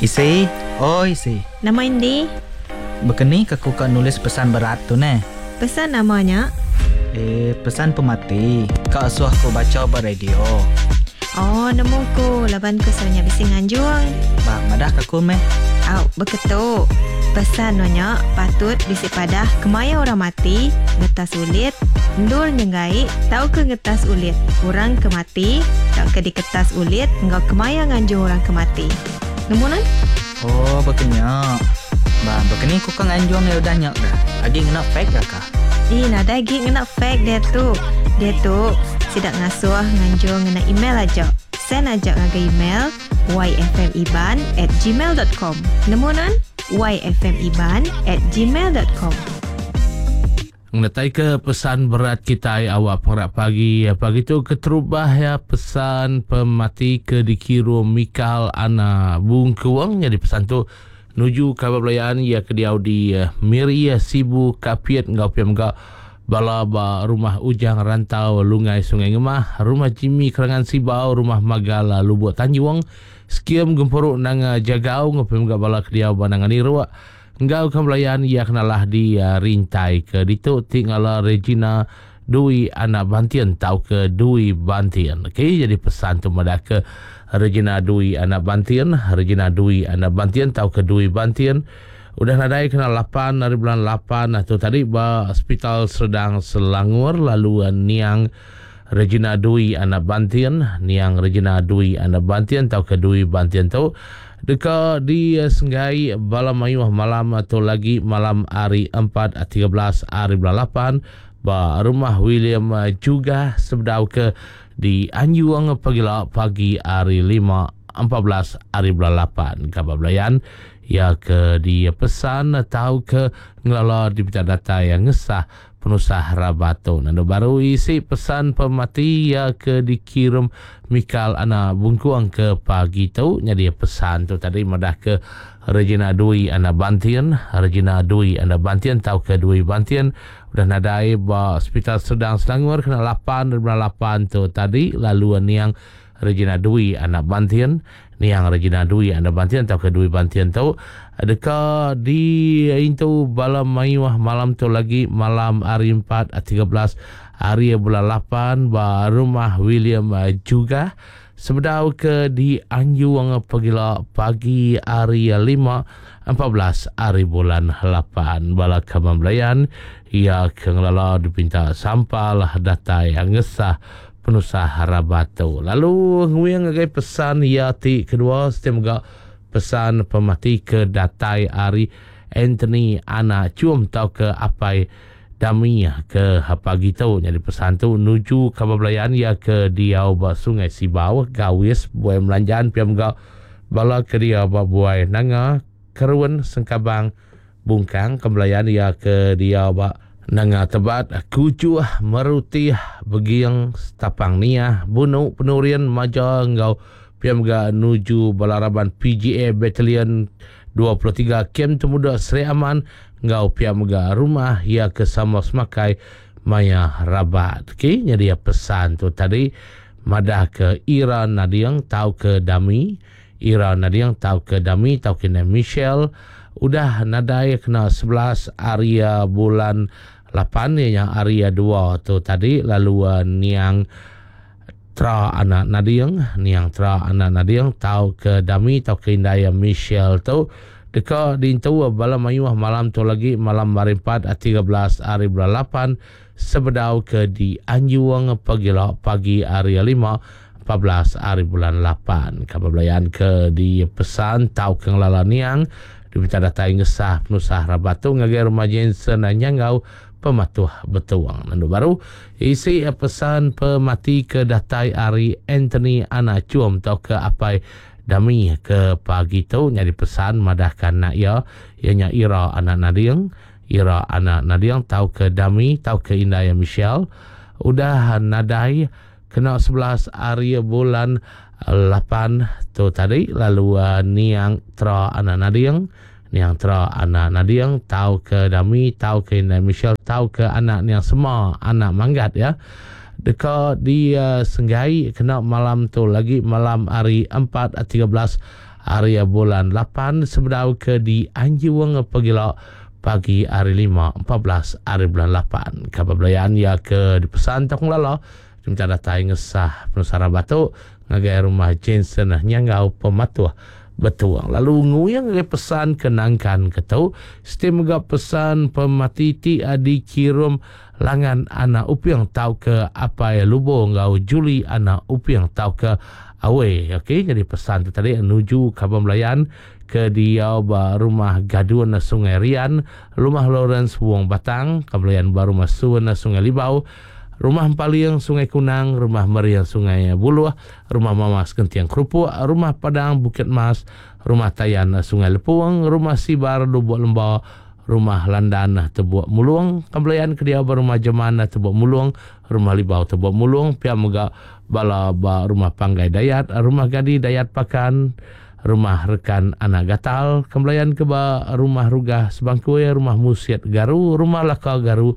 Isi, oi isi. Nama indi? Bekeni ke ku ka nulis pesan berat tu neh? Pesan nama nya? Eh, pesan pemati ka asuh ku bacha ba radio. Oh, nemu ku laban ku selalu nya bisi nganjung. Ba, madah ka ku meh. Au, beketu. Pesan nuan nya patut bisi padah kemaya orang mati, ngetas ulit, endur nyenggai tauka ngetas ulit orang ke mati tauka diketas ulit enggau kemaya nganjung orang ke mati. Nemu nuan? Oh, baka nya. Ba, baka ni ku ka nganjung iya udah nya kah? Agi ngena fax ga kah? Ih, nadai agi ngena fax diatu. Diatu, sida ngasuh nganjung ngena email aja. Send aja ngagai email yfmiban at gmail dot com. Nemu nuan? yfmiban at gmail dot com. Ngenataika pesan berat kitai awak pengerak pagi. Pagi tu keterubah iya pesan pemati ke dikirum Mikal Ana Bungkuang. Nyadi pesan tu nuju kaban belayan iya ke diau di Miri, Sibu, Kapit enggau pia mega bala ba Rumah Ujang Rantau Lungai Sungai Ngemah, Rumah Jimmy Kerangan Sibau, Rumah Magal Lubuk Tanjung, Skim Gempuru Nanga Jagau enggau pia mega bala ke diau ba Nanga Niruk. Enggau ke belayan iya kenalah di rintai ke ditu ti ngala Regina Dui anak Bantin tauka Dui Bantin. Okey jadi pesan tu madah ke Regina Dui anak Bantin, Regina Dui anak Bantin tauka Dui Bantin udah nadai kena lapan ari bulan lapan tu tadi ba Hospital Serdang Selangor lalu niang Regina Dui anak Bantin, niang Regina Dui anak Bantin tauka Dui Bantin tu deka disenggai bala mayuh malam tu lagi malam hari empat 13 hari bulan lapan ba Rumah William Jugah sebedau ke dianjung pagila pagi hari lima 14 hari bulan lapan. Kaban belayan iya ke dipesan tauka ngelala dipinta datai ngesah Penusah rabat tu nandu baru isi pesan pemati iya ke dikirum Mikal anak Bungkuang ke pagi tu. Nyadi pesan tu tadi madah ke Regina Dui anak Bantin, Regina Dui anak Bantin tauka Dui Bantin udah nadai ba Sepital Serdang Selangor kena lapan ari bulan lapan tu tadi lalu niang Regina Dui anak Bantin, Niang Regina Dui anak Bantin tauka Dui Bantin tu deka diintu bala mayuh malam tu lagi malam hari empat 13 hari bulan lapan ba Rumah William Jugah sebedau ke dianjung pagila pagi hari lima 14 hari bulan lapan. Bala kaban belayan iya ke ngelala dipinta sampal datai ngesah Penusah rabat tu lalu nguing ngagai pesan iya ti kedua siti mega pesan pemati ke datai ari Anthony Anak Chum tauka Apai Dami ke pagi tu. Nyadi pesan tu nuju kaban belayan iya ke diau ba Sungai Sibau, Gawis, Buai Melanjan pia mega bala ke diau ba Buai Nanga, Kerun, Sengkabang, Bungkang ke belayan iya ke diau ba Nanga Tebat, Kujuh, Merutih, Beging, Stapang Niah, Bunu, Penurin, Maja enggau pia mega nuju bala raban PGA Battalion 23 Kem Temuda Sri Aman enggau pia mega rumah iya ke sama semakai maya rabat. Okey, nyadi pesan tu tadi madah ke Ira Nading tauka Dami Ira Nading tauka Dami tauka indai Michelle udah nadai kena 11 ari bulan lapan iya nya ari dua tu tadi lalu niang Tra anak Nading niang Tra anak Nading tauka Dami tauka indai Michelle tu deka diintu bala mayuh malam tu lagi malam hari empat 13 ari bulan lapan sebedau ke dianjung pagila pagi hari lima 14 ari bulan lapan. Kaban belayan ke dipesan tauka ngelala niang dipinta datai ngesah penusah rabat tu ngagai Rumah Jensen Nyanggau Pematuh Betung. Nendu baru isi pesan pemati ke datai ari Anthony Anak Chum tauka Apai Dami ke pagi tu nyadi pesan madahka anak iya, iya nya Ira anak Nading, Ira anak Nading tauka Dami tauka indai Michelle udah nadai Kena 11 ari bulan lapan tu tadi lalu niang Tra anak Nading, niang Tra anak Nading tauka Dami tauka indai Michelle tauka anak niang Sema anak Manggat ya deka disenggai kena malam tu lagi malam hari empat 13. ari bulan 8 sebedau ke dianjung pegila pagi hari 5 14 ari bulan 8. Kaban belayan iya ke dipesan tau ngelala minta datai ngesah penusah rabat tu ngagai rumah Jensen Nyanggau Pematuh Betung. Lalu nguyang ngagai pesan ke nangkan ke tu, siti mega pesan pemati ti dikirum Langan Anak Uping tauka Apai Lubo enggau Julie Anak Uping tauka Awe. Okey, jadi pesan tu tadi nuju kaban belayan ke diau ba rumah Gadun Sungai Rian, Rumah Lawrence Wong Batang, kaban belayan ba rumah Sun Sungai Libau, Rumah Empaling Sungai Kunang, Rumah Mering Sungai Buluh, Rumah Mamas Genting Kerupuk, Rumah Padang Bukit Mas, Rumah Tayan Sungai Lepung, Rumah Sibar Lubuk Lemba, Rumah Landan Tebuk Mulung, Kembelayan ke diau ba Rumah Jeman Tebuk Mulung, Rumah Libau Tebuk Mulung, pia mega bala ba Rumah Panggai Dayat, Rumah Gadi Dayat Pakan, Rumah Rekan Anak Gatal, Kembelayan ke ba Rumah Rugah Sebangkui, Rumah Musit Garu, Rumah Laka Garu,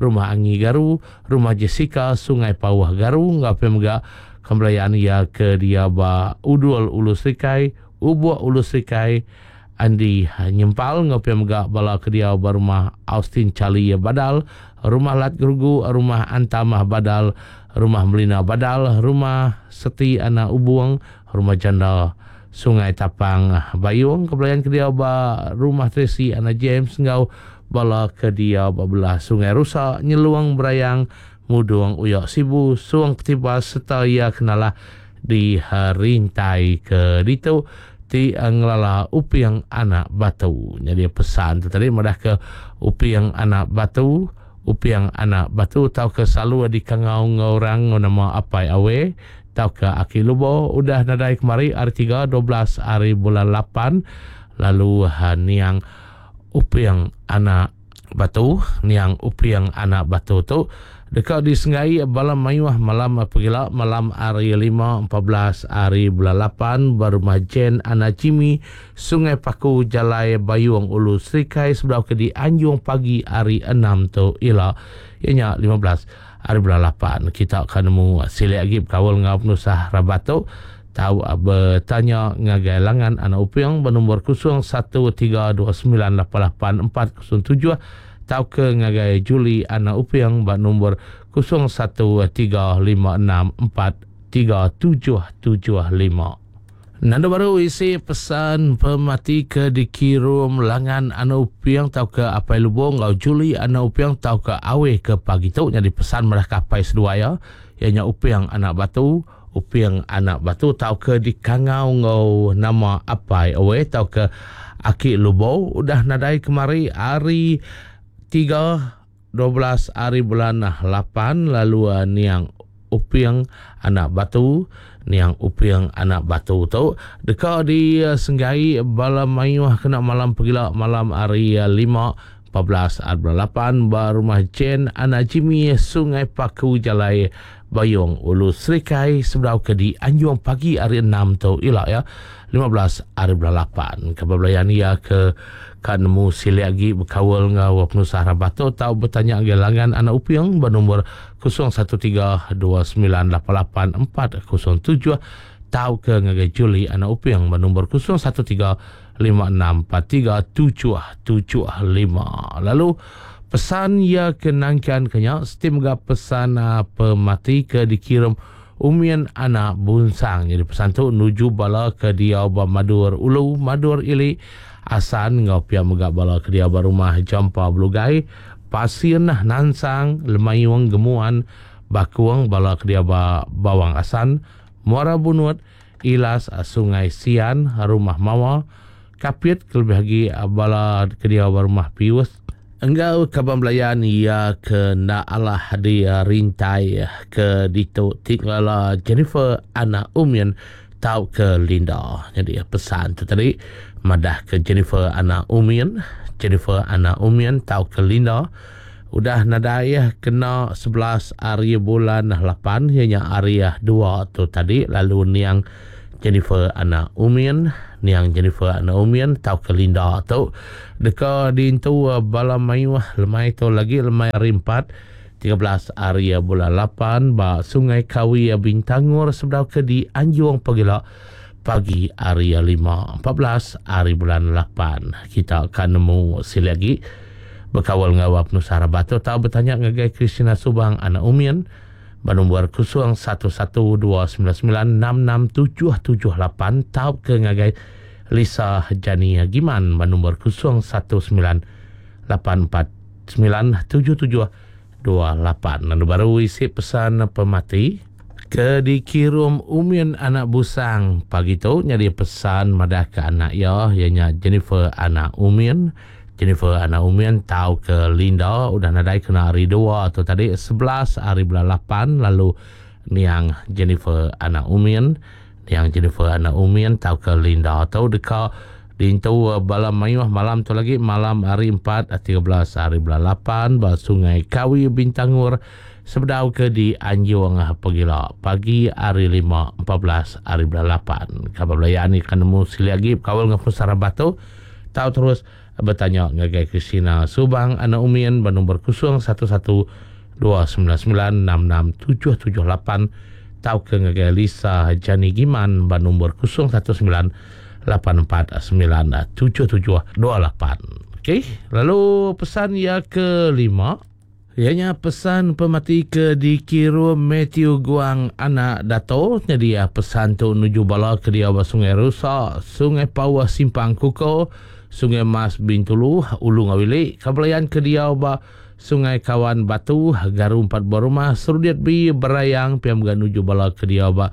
Rumah Angi Garu, Rumah Jessica Sungai Pauh Garu enggau pia mega Kembelayan iya ke diau ba Udul Ulu Serikai, Ubuk Ulu Serikai, Andi Nyempal enggau pia mega bala ke diau ba Rumah Austin Charlie Badal, Rumah Lat Gerugu, Rumah Antamah Badal, Rumah Melina Badal, Rumah Seti Anak Ubung, Rumah Janda Sungai Tapang Bayung, ke belayan ke diau ba Rumah Tracy Anak James enggau bala ke diau ba belah Sungai Rusa, Nyelung Berayang, Mudung Uyak Sibu, Sung Ketibas sereta iya ke nalah di rintai ke ditu ti ngelala Uping Anak Batu. Nyadi pesan tu tadi madah ke Uping Anak Batu, Uping Anak Batu tauka selalu dikangau enggau orang enggau nama Apai Awe tauka Aki Lubo udah nadai kemari hari 3 12 hari bulan 8 lalu niang Uping Anak Batu, niang Uping Anak Batu tu deka disenggai bala mayuh malam pegila malam hari 5 14 hari bulan 8 ba Rumah Jen Anak Jimmy, Sungai Paku, Jalai Bayung Ulu Serikai sebedau ke dianjung pagi hari 6 tu ila iya nya 15 hari bulan 8. Kita ka nemu silik agi bekaul enggau penusah rabat tu tau betanya ngagai Langan Anak Uping ba nombor 0132988407 tauka ngagai Julie Anak Uping ba nombor 0135643775. Nanda baru isi pesan pemati ke dikirum Langan Anak Uping tauka Apai Lubong enggau Julie Anak Uping tauka Awe ke pagi tu nyadi pesan merah ke apai seduai iya, iya nya Uping Anak Batu, Uping Anak Batu tauka dikangau enggau nama Apai Awe tauka Aki Lubong udah nadai kemari hari 3 12 hari bulan 8 lalu niang Uping Anak Batu niang Uping Anak Batu tu deka disenggai bala mayuh kena malam pegila malam hari 5 14 hari bulan 8 ba Rumah Jen Anak Jimmy Sungai Paku Jalai Bayung Ulu Serikai sebedau ke dianjung pagi hari 6 tu ila ya 15 hari bulan 8. Kaban belayan iya ke ka nemu silik agi bekaul enggau penusah rabat tu tau betanya ngagai Langan Anak Uping ba nombor 0132988407 tauka ngagai Julie Anak Uping ba nombor 0135643775. Lalu pesan iya ke nangkan ke nya siti mega pesan pemati ke dikirum Umin Anak Bunsang. Jadi pesan tu nuju bala ke diau ba Madur Ulu, Madur Ili, Asan enggau pia mega bala ke diau ba Rumah Jampa Belugai, Pasin, Nansang, Lemayung, Gemuan, Bakung, bala ke diau ba Bawang Asan, Muara Bunut, Ilas, Sungai Sian, Rumah Mawa, Kapit kelebih agi bala ke diau ba Rumah Pius enggau kaban belayan iya ke enda alah di rintai ke ditu ti ngelala Jennifer Anak Umin tauka Linda. Nyadi pesan tu tadi madah ke Jennifer Anak Umin, Jennifer Anak Umin tauka Linda udah nadai kena 11 hari bulan 8 iya nya hari 2 tu tadi lalu niang Jennifer Anak Umin, niang Jennifer Anak Umin tauka Linda tu deka diintu bala mayuh lemai tu lagi lemai hari 4 13 hari bulan 8 ba Sungai Kawi Bintangor sebedau ke dianjung pagila. pagi hari 5:14 hari bulan 8. Kita akan nemu silik agi bekaul enggau penusah rabat tu tau betanya ngagai Christina Subang anak Umin ba nombor 0112996678 tauka ngagai Lisa Jani Giman ba nombor 0198497728. Lalu baru isi pesan pemati ke dikirum Umin anak Busang pagi tu nyadi pesan madah ke anak iya, iya nya Jennifer anak Umin. Jennifer anak Umin tau ke Linda udah nadai kena hari 2 tu tadi 11 hari bulan 8 lalu niang Jennifer anak Umin. Niang Jennifer anak Umin tau ke Linda tu deka diintu bala mayuh malam tu lagi malam hari 4 13 hari bulan 8 ba Sungai Kawi Bintangor sebedau ke di Anjung pegila pagi hari 5 14 hari bulan 8. Kaban belayan ni kan nemu silik agi bekaul dengan penusah rabat tu tau terus bertanya ngagai Christina Subang anak Umin ba nombor 0112996678 tau ke ngagai Lisa Jani Giman ba nombor 0198497728. Okey, lalu pesan ia kelima ianya pesan pemati ke dikirum Matthew Guang anak Dato. Jadi ya, pesan tu nuju bala ke dia ba Sungai Rusa, Sungai Pawah Simpang Kuko, Sungai Mas Bintulu, Ulu Ngawili, Kabelayan ke dia ba Sungai Kawan Batu, Garu 4 buah rumah, Serudiat B Berayang, piam ga nuju bala ke dia ba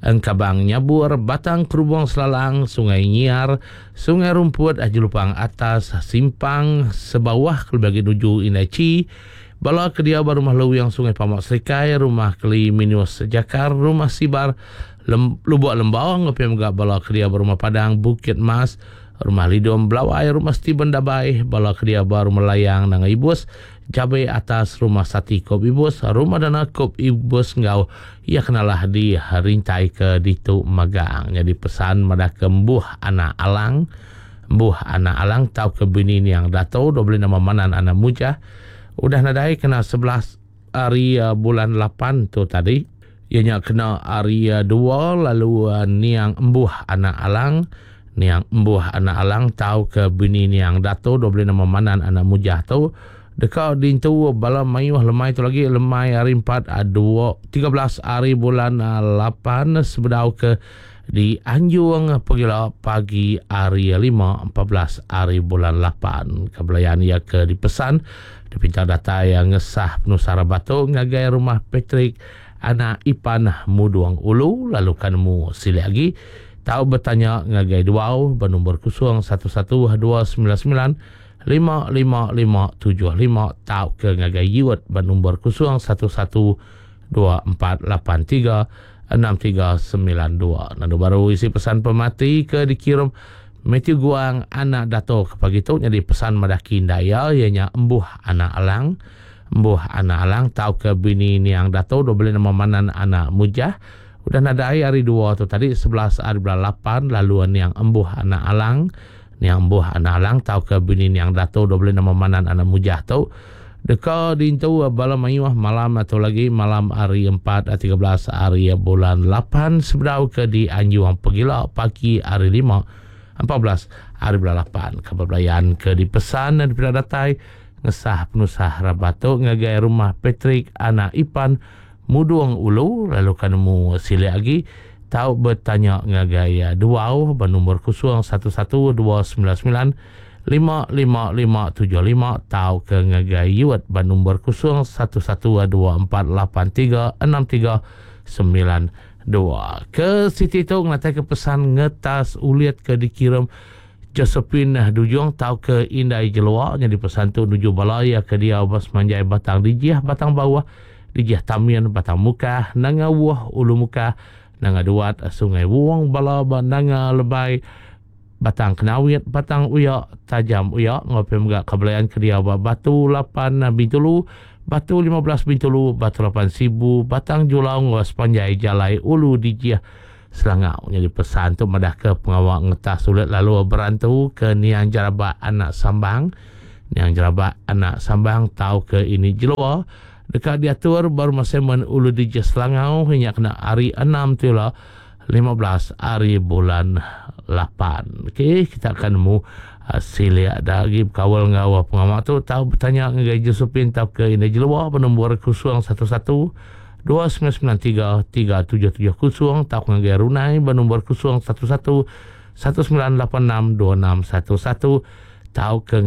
Engkabang Nyabur, Batang Kerubung Selalang, Sungai Nyiar, Sungai Rumput, Jelupang Atas, Simpang Sebawah, kelebih lagi nuju Indai Chi, bala ke dia ba Rumah Luwing Sungai Pamak Serikai, Rumah Keli Minus Jakar, Rumah Sibar, Lubuk Lembau, ngapi mega bala ke dia ba Rumah Padang, Bukit Mas, Rumah Lidom Belawai, Rumah Steven Dabai, bala ke dia ba Rumah Layang Nanga Ibus, Jabe Atas, Rumah Sati Kop Ibus, Rumah Dana Kop Ibus ngau ia kenalah di rintai ke ditu magang. Jadi pesan madah ke Mbuh anak Alang, Mbuh anak Alang tau ke bini niang Dato, dua beli nama Manan anak Mujah, udah nadai kena 11 hari bulan 8 tu tadi. Ianya kena hari 2 lalu niang Mbuh anak Alang, niang Mbuh anak Alang tau ke bini niang Dato, dua beli nama Manan anak Mujah tu deka dintu bala mayuh lemai tu lagi lemai hari 4 2 13 hari bulan 8 sebedau ke di Anjung pegila pagi hari 5 14 hari bulan 8. Kebelayan ia ke dipesan dipinta data yang ngesah penusah batu ngagai rumah Patrick anak Ipan Muduang Ulu lalu kanmu silik lagi tau bertanya ngagai duau bernombor 011299 55575 tau ke ngagai Yuet bernombor 0112483639. Lalu baru isi pesan pemati ke dikirim Matthew Guang anak Dato ke pagi tu jadi pesan madaki daya ianya Embuh anak Alang, Embuh anak Alang tau ke bini niang Dato dua beli nama Manan anak Mujah udah nadai hari 2 tu tadi 11 hari bulan 8 lalu niang Embuh anak Alang, niang Embuh anak Alang tau ke bini niang Dato dua beli nama Manan anak Mujah tu deka dintu bala mayuh malam atau lagi malam hari 4 13 hari bulan 8 sebedau ke di Anjuang Pegila pagi hari 5 14 hari bulan 8. Kabar belayan ke dipesan dan dipindah datai ngesah penusah rabatuk ngagai rumah Patrick anak Ipan Mudung Ulu lalu kanemu silik lagi tau bertanya ngagai duau bernombor 011299 55575 tau ke ngagai Yuet bernombor 0112483639. Ke Siti tu ngatai ke pesan ngetas ulit ke dikirim Josephine Dujung tau ke Indai Jelua jadi pesan tu nuju balaya ke dia bas manjai batang dijih batang bawah dijih tamian batang muka nanga wuh ulu muka nanga duat sungai wuang bala ba nanga lebai batang kenawit batang uyak tajam uyak ngopi mega kebelayan ke dia ba batu 8 Bintulu batu 15 Bintulu batu 8 Sibu batang Julau ngos panjai jalai ulu dijih Selangau. Jadi pesan tu madah ke pengawak ngetah sulit lalu berantu ke Niang Jarabak anak Sambang. Niang Jarabak anak Sambang tau ke ini jelua dekat diatur baru masemen ulu dijih Selangau hingga kena hari 6 tu lah. 15 hari bulan 8. Okey, kita akan nemu uh, silik dah lagi berkawal dengan pengamak tu tahu bertanya dengan Josephine tau ke Indah Jelua bernombor 011 2993 3770 tau ke Runai bernombor 011 1986 2611 tau ke.